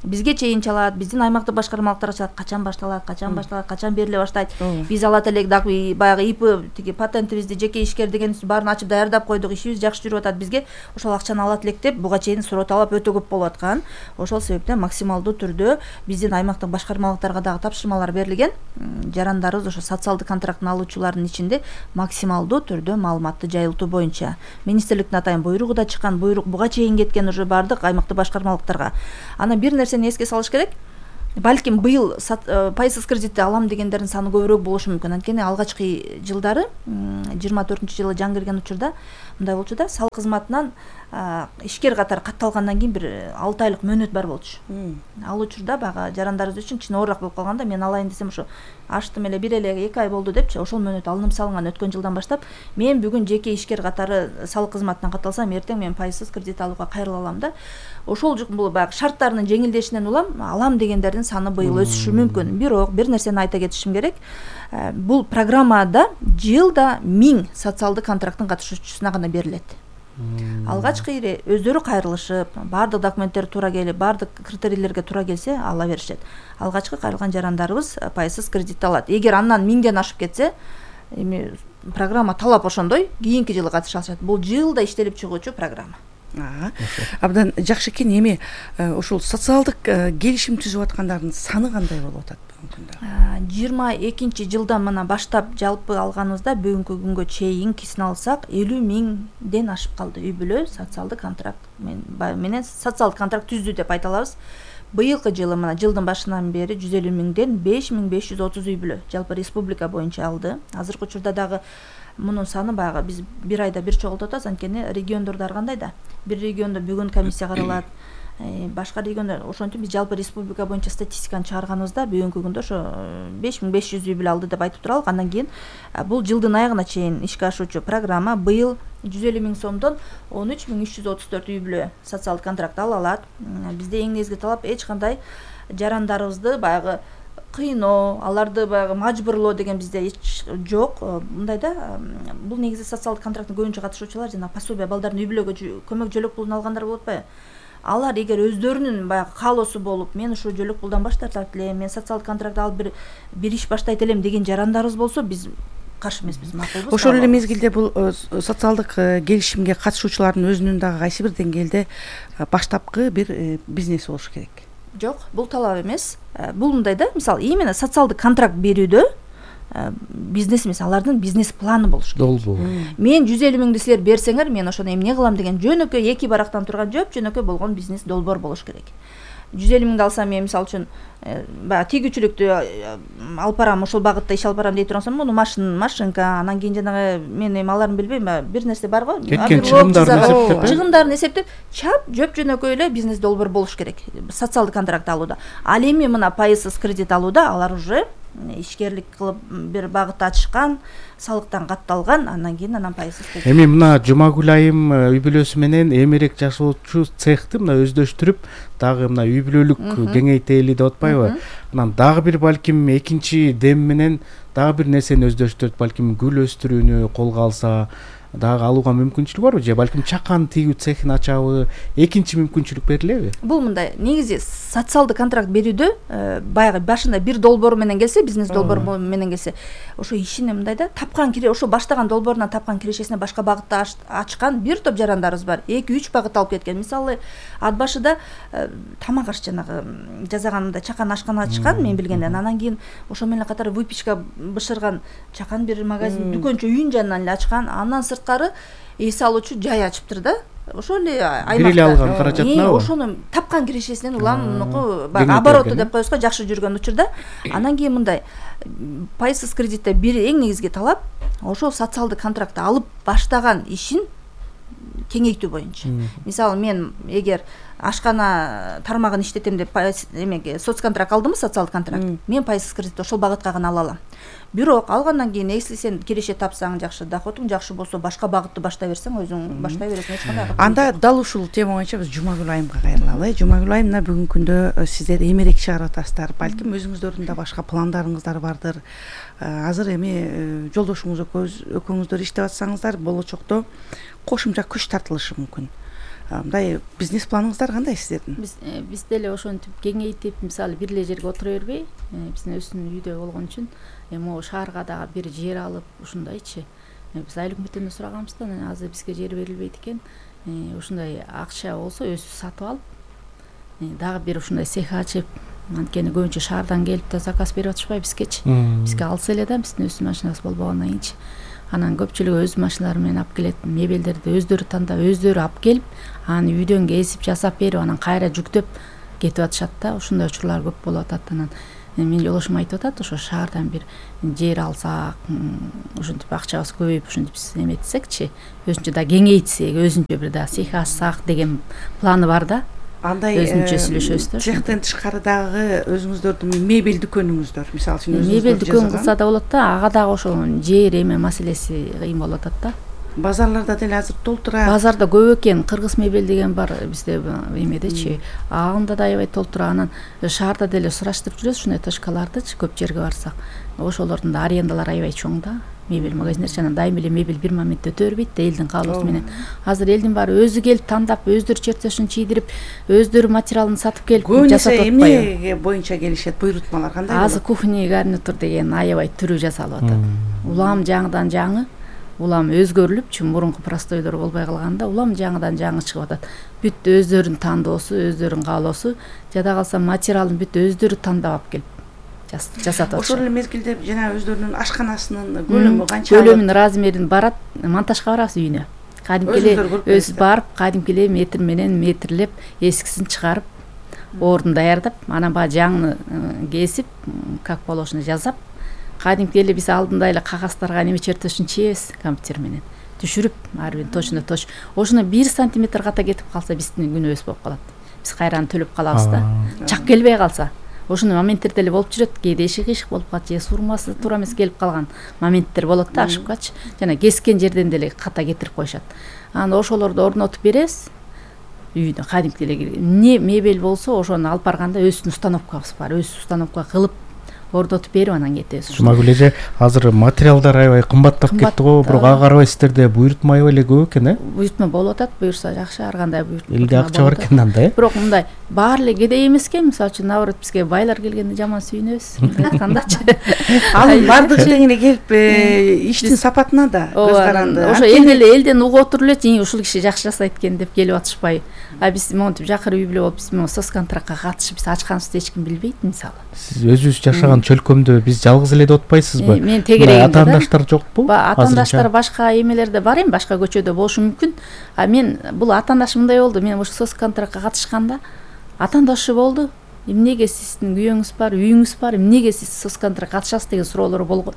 бизге чейин чалат, биздин аймактык башкармалыктарга чалат, качан башталат, качан башталат, качан бериле баштайт. Биз алат элек дагы баягы ИП тиги патентибизди, жеке ишкер дегенибизди баарын ачып даярдап койдук, ишибиз жакшы жүрүп атат. Бизге ошол акчаны алат элек деп буга чейин суроо талап өтө көп болуп аткан. Ошол себептен максималдуу түрдө биздин аймактык башкармалыктарга дагы тапшырмалар берилген. Жарандарыбыз ошо социалдык контрактын алуучулардын ичинде максималдуу түрдө маалыматты жайылтуу боюнча министрликтин атайын буйругу да чыккан, буйрук буга чейин кеткен уже баардык аймактык башкармалыктарга. Анан бир нерсени эске салыш керек. Балким быйыл пайсыз кредитти алам дегендердин саны көбүрөөк болушу мүмкүн. Анткени алгачкы жылдары жыйырма төртүнчү жылы жаңы кирген учурда мындай болчу да, салык кызматынан ишкер катары катталгандан кийин бир алты айлык мөөнөт бар болчу. Ал учурда баягы жарандарыбыз үчүн кичине оорураак болуп калганда, мен алайын десем ошо ачтым эле бир эле эки ай болду депчи, ошол мөөнөт алынып салынган өткөн жылдан баштап. Мен бүгүн жеке ишкер катары салык кызматынан катталсам, эртең мен пайсыз кредит алууга кайрыла алам да. Ошол бул баягы шарттарынын жеңилдешинен улам алам дегендердин саны быйыл өсүшү мүмкүн. Бирок бир нерсени айта кетишим керек. Бул программада жылда миң социалдык контракттын катышуучусуна гана берилет. Алгачкы ири өздөрү кайрылышып, баардык документтер туура келип, баардык критерийлерге туура келсе ала беришет. Алгачкы кайрылган жарандарыбыз пайсыз кредит алат. Эгер андан миңден ашып кетсе, эми программа талап ошондой, кийинки жылы катыша алышат. Бул жылда иштелип чыгуучу программа. Абдан жакшы экен. Эми ошол социалдык келишим түзүп аткандардын саны кандай болуп атат бүгүнкү күндө? жыйырма экинчи жылдан мына баштап жалпы алганыбызда бүгүнкү күнгө чейин кесин алсак элүү миңден ашып калды. Үй бүлө социалдык контракт менен социалдык контракт түздү деп айта алабыз. Быйылкы жылы мына жылдын башынан бери жүз элүү миңден беш миң беш жүз отуз үй бүлө жалпы республика боюнча алды. Азыркы учурда дагы мунун саны баягы биз бир айда бир чогултуп атабыз. Анткени региондордо ар кандай да. Бир региондо бүгүн комиссия каралат, башка региондор ошентип биз жалпы республика боюнча статистиканы чыгарганыбызда бүгүнкү күндө ошо беш миң беш жүз үй бүлө алды деп айтып туралык. Андан кийин бул жылдын аягына чейин ишке ашуучу программа быйыл жүз элүү миң сомдон он үч миң үч жүз отуз төрт үй бүлө социалдык контракт ала алат. Бизде эң негизги талап эч кандай жарандарыбызды баягы кыйноо, аларды баягы мажбурлоо деген бизде эч жок. Мындай да, бул негизи социалдык контракттын көбүнчө катышуучулар жана пособие балдардын үй бүлөгө көмөк жөлөк пулун алгандар болуп атпайбы? Алар эгер өздөрүнүн баягы каалоосу болуп, мен ушул жөлөк пулдан баш тартат элем, мен социалдык контракт алып бир бир иш баштайт элем деген жарандарыбыз болсо, биз каршы эмеспиз, макулбуз. Ошол эле мезгилде бул социалдык келишимге катышуучулардын өзүнүн дагы кайсы бир деңгээлде баштапкы бир бизнеси болушу керек. Жок, бул талап эмес. Бул мындай да, мисалы, именно социалдык контракт берүүдө бизнес эмес, алардын бизнес планы болуш керек. Долбоо. Мен жүз элүү миңди силер берсеңер, мен ошону эмне кылам деген жөнөкөй эки барактан турган жөп жөнөкөй болгон бизнес долбоор болуш керек. жүз элүү миңди алсам, мен мисалы үчүн баягы тийгүүчүлүктү алып барам, ошол багытта иш алып барам дей турсам, муну машин, машинка, анан кийин жанагы мен эми аларын билбейм, бир нерсе бар го, чыгымдарын эсептеп, чыгымдарын эсептеп, чап жөп жөнөкөй эле бизнес долбоор болуш керек социалдык контракт алууда. Ал эми мына пайызсыз кредит алууда алар уже ишкерлик кылып бир багыт ачышкан, салыктан катталган, андан кийин анан пайызсыз кредит. Эми мына Жумагүл айым үй бүлөсү менен эмерек жашоочу цехти мына өздөштүрүп, дагы мына үй бүлөлүк кеңейтели деп атпайбы? Анан дагы бир балким экинчи дем менен дагы бир нерсени өздөштүрүп, балким гүл өстүрүүнү колго алса, дагы алууга мүмкүнчүлүк барбы, же балким чакан тигүү цехин ачабы, экинчи мүмкүнчүлүк берилеби? Бул мындай, негизи социалдык контракт берүүдө баягы башында бир долбоор менен келсе, бизнес долбоор менен келсе, ошо ишине мындай да, тапкан кире, ошо баштаган долбоорунан тапкан кирешесине башка багытта ачкан бир топ жарандарыбыз бар. эки үч багыт алып кеткен. Мисалы, ат башыда тамак аш жанагы жасаганында чакан ашкана ачкан, мен билгенден. Анан кийин ошо менен катары выпечка бышырган чакан бир магазин, дүкөнчө үйүн жанынан эле ачкан. Андан сырткары эс алуучу жай ачыптыр да. Ошол эле аймакта бир эле алган каражатына ошону тапкан кирешесинен улам мунуку баягы обороты деп коебузго, жакшы жүргөн учурда. Анан кийин мындай пайызсыз кредитте бир эң негизги талап ошол социалдык контрактты алып баштаган ишин кеңейтүү боюнча. Мисалы, мен эгер ашкана тармагын иштетем деп эмеге соцконтракт алдымбы, социалдык контракт, мен пайызсыз кредитти ошол багытка гана ала алам. Бирок алгандан кийин, если сен киреше тапсаң, жакшы, доходуң жакшы болсо, башка багытты баштай берсең, өзүң баштай бересиң, эч кандай. Анда дал ушул тема боюнча биз Жумагүл айымга кайрылалы. Жумагүл айым, мына бүгүнкү күндө сиздер эмерек чыгарып атасыздар. Балким өзүңүздөрдүн да башка пландарыңыздар бардыр. Азыр эми жолдошуңуз экөөңүздөр иштеп атсаңыздар, болочокто кошумча күч тартылышы мүмкүн. мындай бизнес планыңыздар кандай сиздердин? Биз биз деле ошентип кеңейтип, мисалы бир эле жерге отура бербей, биздин өзүнүн үйдө болгон үчүн эми могу шаарга дагы бир жер алып ушундайчы. Биз айыл өкмөттөн сураганбыз да, азыр бизге жер берилбейт экен. Ушундай акча болсо өзүбүз сатып алып, дагы бир ушундай цех ачып, анткени көбүнчө шаардан келип да заказ берип атышпайбы бизгечи. Бизге алса эле да, биздин өз машинабыз болбогондон кийинчи. Анан көпчүлүгү өз машиналары менен алып келет, мебелдерди өздөрү тандап, өздөрү алып келип, аны үйдөн кесип жасап берип, анан кайра жүктөп кетип атышат да. Ушундай учурлар көп болуп атат. Анан менин жолдошум айтып атат, ошо шаардан бир жер алсак, ушинтип акчабыз көбөйүп, ушинтип биз эметсекчи, өзүнчө да кеңейтсек, өзүнчө бир да цех ачсак деген планы бар да. Андай өзүнчө сүйлөшөбүз да. Цехтен тышкары дагы өзүңүздөрдүн мебель дүкөнүңүздөр, мисалы үчүн өзүңүздөр мебель дүкөн кылса да болот да, ага дагы ошо жер эме маселеси кыйын болуп атат да. Базарларда деле азыр толтура. Базарда көп экен, кыргыз мебель деген бар бизде эмедечи. Анда да аябай толтура. Анан шаарда деле сураштырып жүрөбүз ушундай точкалардычы, көп жерге барсак. Ошолордун да арендалары аябай чоң да. Мебель магазиндер анан дайым эле мебель бир моментте өтө бербейт да, элдин каалоосу менен. Азыр элдин баары өзү келип тандап, өздөрү чертежин чийдирип, өздөрү материалын сатып келип жасап атпайбы. Эмне боюнча келишет, буйрутмалар кандай болот? Азыр кухня гарнитур деген аябай түрү жасалып атат. Улам жаңыдан жаңы, улам өзгөрүлүп, чүн мурунку простойлор болбой калганда, улам жаңыдан жаңы чыгып атат. Бүт өздөрүнүн тандоосу, өздөрүнүн каалоосу, жада калса материалын бүт өздөрү тандап алып келип жасатат. Ошол эле мезгилде жана өздөрүнүн ашканасынын көлөмү канча? Көлөмүн, размерин барат, монтажга барабыз үйүнө. Кадимки эле өз барып, кадимки эле метр менен метрлеп, эскисин чыгарып, ордун даярдап, анан баягы жаңыны кесип, как положено жазап, кадимки эле биз алдында эле кагаздарга неме чертежин чийебиз компьютер менен. Түшүрүп, ар бир точно точ. Ошону бир сантиметр ката кетип калса биздин күнөөбүз болуп калат. Биз кайраны төлөп калабыз да. Чак келбей калса. Ошондой моменттер деле болуп жүрөт. Кээде иши кыйшык болуп калат, же сурмасы туура эмес келип калган моменттер болот да, ошибкачы. Жана кескен жерден деле ката кетирип коюшат. Анан ошолорду орнотуп беребиз. Үйдө кадимки эле эмне мебель болсо, ошону алып барганда өзүнүн установкабыз бар. Өз установка кылып ордотуп берип анан кетебиз. Жумагүл эже, азыр материалдар аябай кымбаттап кетти го, бирок ага карабай сиздерде буйрутма аябай эле көп экен, э? Буйрутма болуп атат, буйрса жакшы, ар кандай буйрутма. Элде акча бар экен анда, э? Бирок мындай баары эле кедей эмес экен, мисалы үчүн наоборот бизге байлар келгенде жаман сүйүнөбүз, айткандачы. Ал бардык тең эле келип, иштин сапатына да көз каранды. Ошо эл деле элден угуп отуруп эле, ушул киши жакшы жасайт экен деп келип атышпайбы. А биз монтип жакыр үй бүлө болуп, биз могу соцконтрактка катышып, биз ачканыбызды эч ким билбейт, мисалы. Сиз өзүңүз жашаган чөлкөмдө биз жалгыз эле деп атпайсызбы? Мен тегерегимде да. Атаандаштар жокпу? Атаандаштар башка эмелерде бар эми, башка көчөдө болушу мүмкүн. А мен бул атаандашым мындай болду. Мен ошо соцконтрактка катышканда атаандашы болду. Эмнеге сиздин күйөөңүз бар, үйүңүз бар, эмнеге сиз соцконтрактка катышасыз деген суроолор болгон.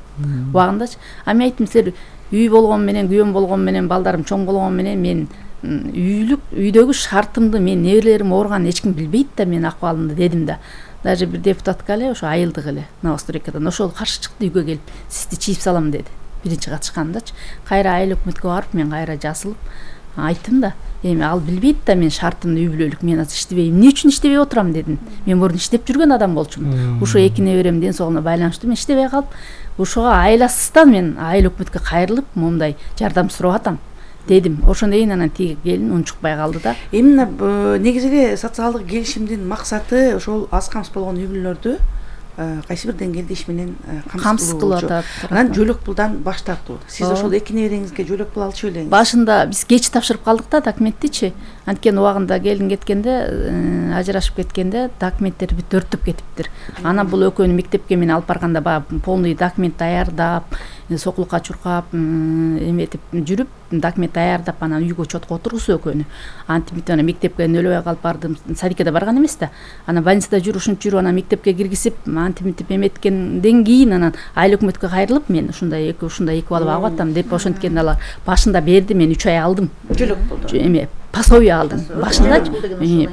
Убагындачы. А мен айттым, силер үй болгон менен, күйөөм болгон менен, балдарым чоң болгон менен мен үйлүк үйдөгү шартымды, мен неберелерим ооруганын эч ким билбейт да, менин акыбалымды дедим да. Даже бир депутатка эле ошо айылдык эле Новостройкадан ошол каршы чыкты, үйгө келип, сизди чийип салам деди. Биринчи катышкандачы. Кайра айыл өкмөткө барып, мен кайра жасылып айттым да, эми ал билбейт да мен шартымды үй бүлөлүк, мен азыр иштебейм. Эмне үчүн иштебей отурам дедим. Мен мурун иштеп жүргөн адам болчумун. Ушо эки неберем ден соолугуна байланыштуу мен иштебей калып, ошого айласыздан мен айыл өкмөткө кайрылып, моундай жардам сурап атам дедим. Ошондон кийин анан тиги келин унчукпай калды да. Эмне негизи эле социалдык келишимдин максаты ошол аз камсыз болгон үй бүлөлөрдү кайсы бир деңгээлде иш менен камсыз кылып атат. Анан жөлөк пулдан баш тартуу. Сиз ошол эки небереңизге жөлөк пул алчу элеңиз. Башында биз кеч тапшырып калдык да документтичи. Анткени убагында келин кеткенде, ажырашып кеткенде документтер бүт өрттөп кетиптир. Анан бул экөөнү мектепке мен алып барганда баягы полный документ даярдап, сокулукка чуркап, эметип жүрүп, документ даярдап, анан үйгө чотко отургузуу экөөнү. Антип анан мектепке нөлөбөй калып бардым. Садикке барган эмес да. Анан больницада жүрүп, ушинтип жүрүп, анан мектепке киргизип, антип эметкенден кийин анан айыл өкмөткө кайрылып, мен ушундай эки ушундай эки балып агып атам деп ошенткенде алар башында берди, мен үч ай алдым. Жөлөк болду. Эме пособие алдым. Башында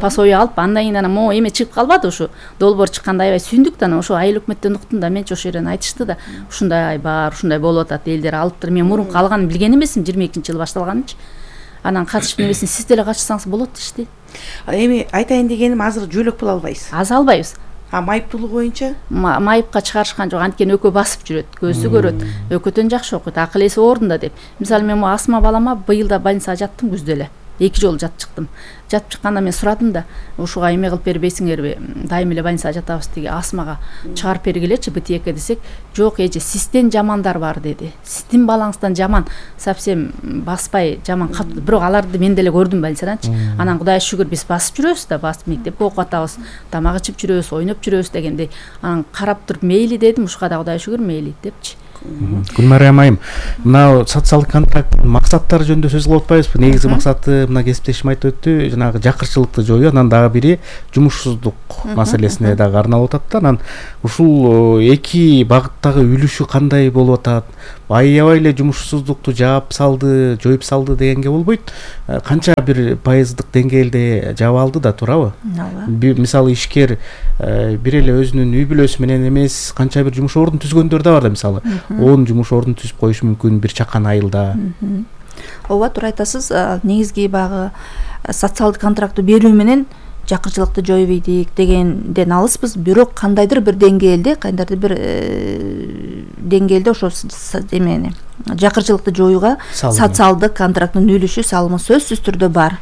пособие алып, андан кийин анан могу эме чыгып калбады, ушу долбоор чыкканда аябай сүйүндүк да, анан ошо айыл өкмөттөн уктум да, менчи ошол жерден айтышты да, ушундай бар, ушундай болуп атат, элдер алыптыр. Мен мурун калганын билген эмесмин, жыйырма экинчи жылы башталганычы. Анан катышып небесин сиз деле катышсаңыз болот дешти. Эми айтайын дегеним, азыр жөлөк пул албайсыз. Аз албайбыз. А майыптуулук боюнча? Майыпка чыгарышкан жок, анткени экөө басып жүрөт, көзү көрөт, экөөдөн жакшы окуйт, акыл эси ордунда деп. Мисалы мен Асма балама быйыл да больницага жаттым күздө эле. эки жолу жатып чыктым. Жатып чыкканда мен сурадым да, ушуга эме кылып бербейсиңерби, дайым эле больницага жатабыз тиги Асмага чыгарып бергилечи бытиекке десек, жок эже, сизден жамандар бар деди. Сиздин балаңыздан жаман, совсем баспай жаман кат. Бирок аларды мен деле көрдүм больницаданчы. Анан Кудайга шүгүр биз басып жүрөбүз да, басып мектепке окуп атабыз, тамак ичип жүрөбүз, ойноп жүрөбүз дегендей. Анан карап туруп мейли дедим, ушуга да Кудайга шүгүр мейли депчи. Гүлмария айым, мына социалдык контракттын максаттары жөнүндө сөз кылып атпайбызбы? Негизи максаты мына кесиптешим айтып өттү, жанагы жакырчылыкты жоюу, анан дагы бири жумушсуздук маселесине дагы арналып атат да. Анан ушул эки багыттагы үлүшү кандай болуп атат? Аябай эле жумушсуздукту жаап салды, жоюп салды дегенге болбойт. Канча бир пайыздык деңгээлде жаап алды да, туурабы? Мисалы ишкер бир эле өзүнүн үй бүлөсү менен эмес, канча бир жумуш ордун түзгөндөр да бар да, мисалы он жумуш ордун түзүп коюшу мүмкүн бир чакан айылда. Ооба, туура айтасыз. Негизги багы социалдык контрактты берүү менен жакырчылыкты жоюп ийдик дегенден алыспыз. Бирок кандайдыр бир деңгээлде, кандайдыр бир деңгээлде ошо эмени жакырчылыкты жоюуга социалдык контракттын үлүшү, салымы сөзсүз түрдө бар.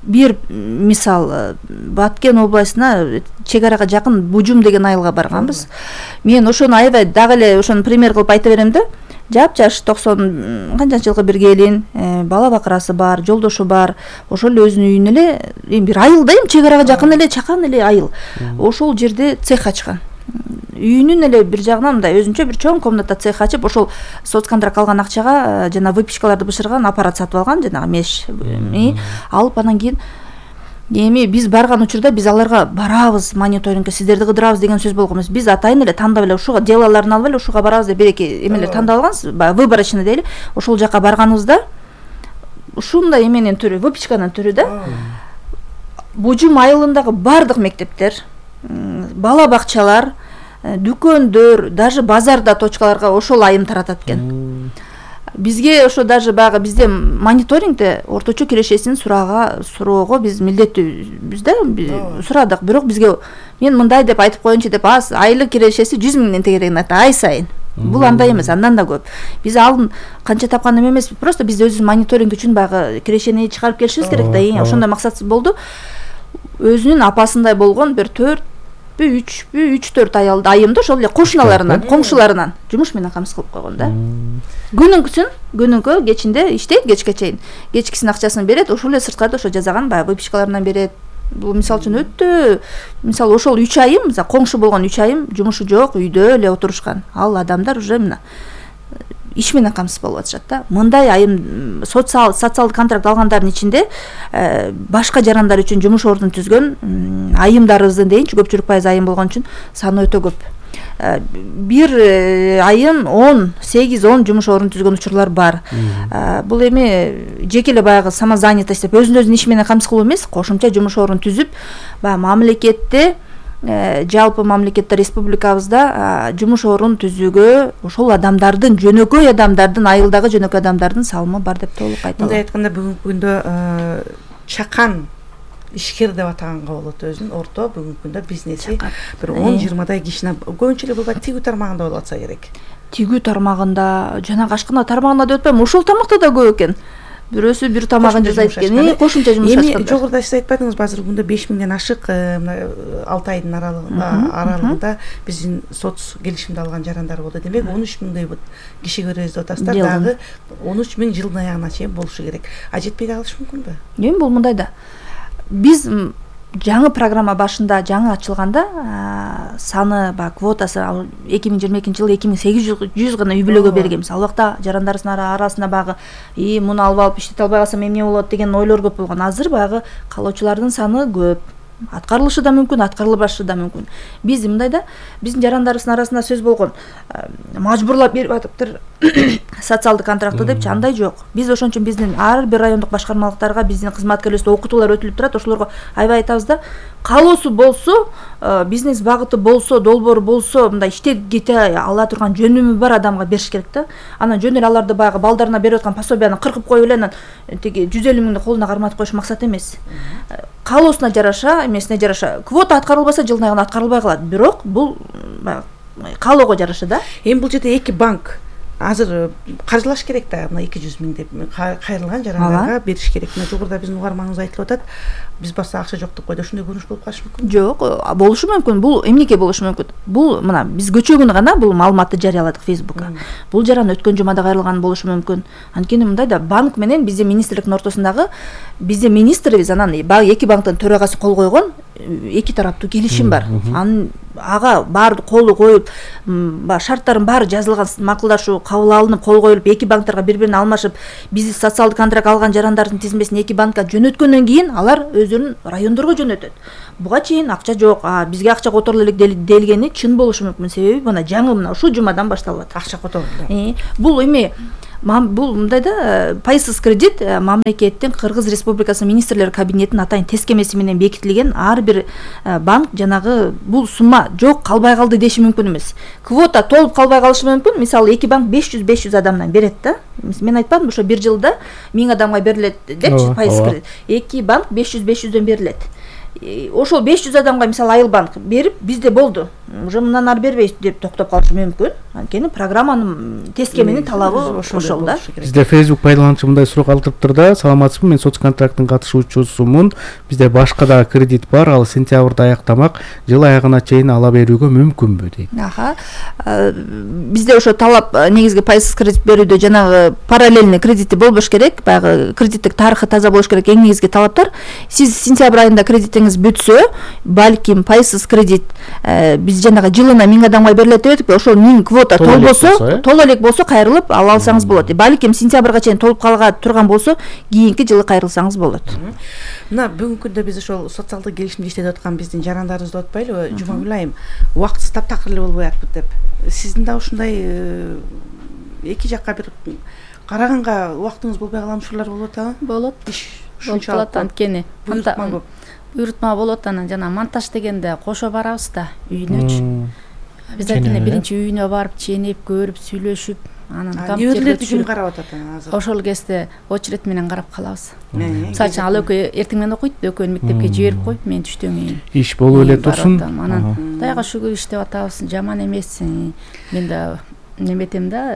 Бир мисал, Баткен областына чек арага жакын Бужум деген айылга барганбыз. Мен ошону аябай дагы эле ошону пример кылып айта берем да. Жап-жаш токсон канчанчы жылкы бир келин, бала бакырасы бар, жолдошу бар. Ошол эле өзүнүн үйүнө эле эми бир айылда эми чек арага жакын эле чакан эле айыл. Ошол жерде цех ачкан. Үйүнүн эле бир жагынан мындай өзүнчө бир чоң комната цех ачып, ошол соцконтракт алган акчага жана выпечкаларды бышырган аппарат сатып алган, жанагы меш алып, анан кийин эми биз барган учурда биз аларга барабыз, мониторингке сиздерди кыдырабыз деген сөз болгон эмес. Биз атайын эле тандап эле ушуга делаларын алып эле ушуга барабыз деп бир-эки эмелер тандап алганбыз, баягы выборочный дейли. Ошол жака барганыбызда ушундай эменин түрү, выпечканын түрү да. Бужум айылындагы бардык мектептер, бала бакчалар, дүкөндөр, даже базарда точкаларга ошол айым таратат экен. Бизге ошо даже баягы бизде мониторингде орточо кирешесин сурага суроого биз милдеттүүбүз да, сурадык. Бирок бизге мен мындай деп айтып коеюнчу деп, аз айлык кирешеси жүз миңден тегерегин айтты ай сайын. Бул андай эмес, андан да көп. Биз алдын канча тапкан эмес, просто биз өзүбүз мониторинг үчүн баягы кирешени чыгарып келишибиз керек да. Ошондой максатсыз болду. Өзүнүн апасындай болгон бир төрт үчпү үч төрт айымды ошол эле кошуналарынан, коңшуларынан жумуш менен камсыз кылып койгон да. Күнүнкүсүн, күнүнкү кечинде иштейт, кечке чейин. Кечкисин акчасын берет, ошол эле сырткарда ошо жазаган баягы выпечкаларынан берет. Бул мисалы үчүн өтө, мисалы ошол үч айым, мисалы коңшу болгон үч айым жумушу жок, үйдө эле отурушкан. Ал адамдар уже мына иш менен камсыз болуп атышат да. Мындай айым социал социалдык контракт алгандардын ичинде башка жарандар үчүн жумуш ордун түзгөн айымдарыбыздын дейинчи, көпчүлүк пайыз айым болгон үчүн саны өтө көп. Бир айым он сегиз он жумуш ордун түзгөн учурлар бар. Бул эми жеке эле баягы самозанятость деп өзүн-өзүнүн иши менен камсыз кылуу эмес, кошумча жумуш ордун түзүп, баягы мамлекетте жалпы мамлекетте республикабызда жумуш орун түзүүгө ошол адамдардын, жөнөкөй адамдардын, айылдагы жөнөкөй адамдардын салымы бар деп толук айта алам. Мындай айтканда бүгүнкү күндө чакан ишкер деп атаганга болот өзүн, орто бүгүнкү күндө бизнеси бир он жыйырмадай кишини көбүнчө эле булбайт, тигүү тармагында болуп атса керек. Тигүү тармагында, жанагы ашкана тармагында деп атпайм, ошол тамакта да көп экен. Бирөөсү бир тамагын жасайт экен, кошумча жумуш ачкан. Эми жогоруда сиз айтпадыңызбы, азыр күндө беш миңден ашык мына алты айдын аралыгында биздин соц келишимди алган жарандар болду. Демек он үч миңдей киши көрөбүз деп атасыздар, дагы он үч миң жылдын аягына чейин болушу керек. А жетпей калышы мүмкүнбү? Эми бул мындай да. Биз жаңы программа башында жаңы ачылганда саны баягы квотасы эки миң жыйырма экинчи жылы эки миң сегиз жүз гана үй бүлөгө берилген. Ал убакта жарандарыбыздын арасында баягы и муну алып алып иштете албай калсам эмне болот деген ойлор көп болгон. Азыр баягы каалоочулардын саны көп. Аткарылышы да мүмкүн, аткарылбашы да мүмкүн. Биз мындай да, биздин жарандарыбыздын арасында сөз болгон, мажбурлап берип атыптыр социалдык контрактты депчи, андай жок. Биз ошон үчүн биздин ар бир райондук башкармалыктарга биздин кызматкерлерибизде окутуулар өтүлүп турат. Ошолорго аябай айтабыз да, каалоосу болсо, бизнес багыты болсо, долбоору болсо, мындай иштеп кете ала турган жөнүмү бар адамга бериш керек да. Анан жөн эле аларды баягы балдарына берип аткан пособияны кыркып коюп эле анан тиги жүз элүү миңди колуна карматып коюш максат эмес. Каалоосуна жараша, эмесине жараша. Квота аткарылбаса жылдын аягында аткарылбай калат. Бирок бул каалоого жараша да. Эми бул жерде эки банк азыр каржылаш керек да, мына эки жүз миң деп кайрылган жарандарга бериш керек. Мына жогоруда биздин угарманыбыз айтылып атат, биз баста акча жок деп койду. Ошондой көрүнүш болуп калышы мүмкүн? Жок, болушу мүмкүн. Бул эмнеге болушу мүмкүн? Бул мына биз көчө күнү гана бул маалыматты жарыяладык Фейсбукка. Бул жаран өткөн жумада кайрылган болушу мүмкүн. Анткени мындай да, банк менен биздин министрликтин ортосундагы биздин министрибиз анан баягы эки банктын төрагасы кол койгон эки тараптуу келишим бар. Анын ага баарды колу коюп, шарттардын баары жазылган, макулдашуу кабыл алынып, кол коюлуп, эки банктарга бири-бирин алмашып, биз социалдык контракт алган жарандардын тизмесин эки банкка жөнөткөндөн кийин алар өздөрүнүн райондорго жөнөтөт. Буга чейин акча жок, бизге акча которулу элек делгени чын болушу мүмкүн. Себеби мына жаңы мына ушул жумадан башталып атат. Акча которулду. Бул эми бул мындай да, пайсыз кредит мамлекеттин Кыргыз Республикасы министрлер кабинетинин атайын тескемеси менен бекитилген. Ар бир банк жанагы бул сумма жок калбай калды деши мүмкүн эмес. Квота толуп калбай калышы мүмкүн. Мисалы эки банк беш жүз беш жүз адамдан берет да. Мен айтпадым, ошо бир жылда миң адамга берилет депчи пайсыз кредит. Эки банк беш жүз беш жүздөн берилет. Ошол беш жүз адамга мисалы Айыл банк берип, бизде болду, уже мындан ары бербейбиз деп токтоп калышы мүмкүн. Анткени программанын тескеменин талабы ошол да. Бизде Facebook пайдалануучу мындай суроо калтырыптыр да: саламатсызбы, мен соц контракттын катышуучусумун. Бизде башка да кредит бар, ал сентябрда аяктамак, жыл аягына чейин ала берүүгө мүмкүнбү дейт. Аха. Бизде ошо талап негизги пайсыз кредит берүүдө жанагы параллельный кредити болбош керек, баягы кредиттик тарыхы таза болуш керек. Эң негизги талаптар: сиз сентябрь айында кредитиңиз бүтсө, балким пайсыз кредит биз жанагы жылына миң адамга берилет дебедикпи? Ошол миң квота толбосо, толо элек болсо кайрылып ала алсаңыз болот. Балким сентябрга чейин толуп калга турган болсо, кийинки жылы кайрылсаңыз болот. Мына бүгүнкү күндө биз ошол социалдык келишимде иштеп аткан биздин жарандарыбызды отпайлыбы? Жумагүл айым, убактысы таптакыр эле болбой атпы деп. Сиздин да ушундай эки жакка бир караганга убактыңыз болбой калган учурлар болуп атабы? Болот. Болуп калат, анткени буйрутма болот. Анан жана монтаж дегенде кошо барабыз да үйүнөчү. Биз анткени биринчи үйүнө барып ченеп, көрүп, сүйлөшүп, анан компьютерди ким карап атат азыр? Ошол кезде очередь менен карап калабыз. Мисалы үчүн ал экөө эртең менен окуйт, экөөнү мектепке жиберип коюп, мен түштөн кийин иш болуп эле турсун. Анан Кудайга шүгүр иштеп атабыз, жаман эмес. Мен да неметем да,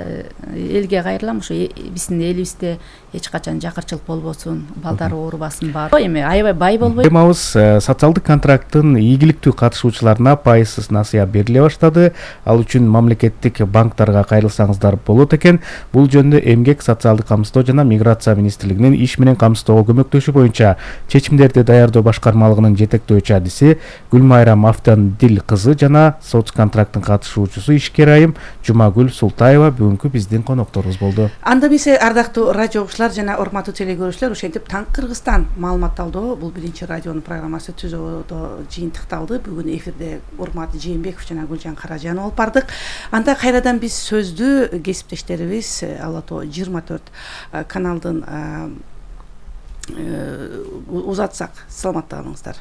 элге кайрылам, ошо биздин элибизде эч качан жакырчылык болбосун, балдар оорубасын бар. Эми аябай бай болбой. Темабыз социалдык контракттын ийгиликтүү катышуучуларына пайсыз насыя бериле баштады. Ал үчүн мамлекеттик банктарга кайрылсаңыздар болот экен. Бул жөнүндө Эмгек, социалдык камсыздоо жана миграция министрлигинин иш менен камсыздоого көмөктөшүү боюнча чечимдерди даярдоо башкармалыгынын жетектөөчү адиси Гүлмайра Мафтандил кызы жана соц контракттын катышуучусу ишкер айым Жумагүл Султаева бүгүнкү биздин конокторубуз болду. Анда биз ардактуу радио угуучулар жана урматтуу телекөрүүчүлөр, ошентип Таң Кыргызстан маалыматталдоо бул биринчи радионун программасы түзүүдө жыйынтыкталды. Бүгүн эфирде Урмат Жээнбеков жана Гүлжан Каражанова алып бардык. Анда кайрадан биз сөздү кесиптештерибиз Ала Тоо жыйырма төрт каналдын узатсак. Саламатта калыңыздар.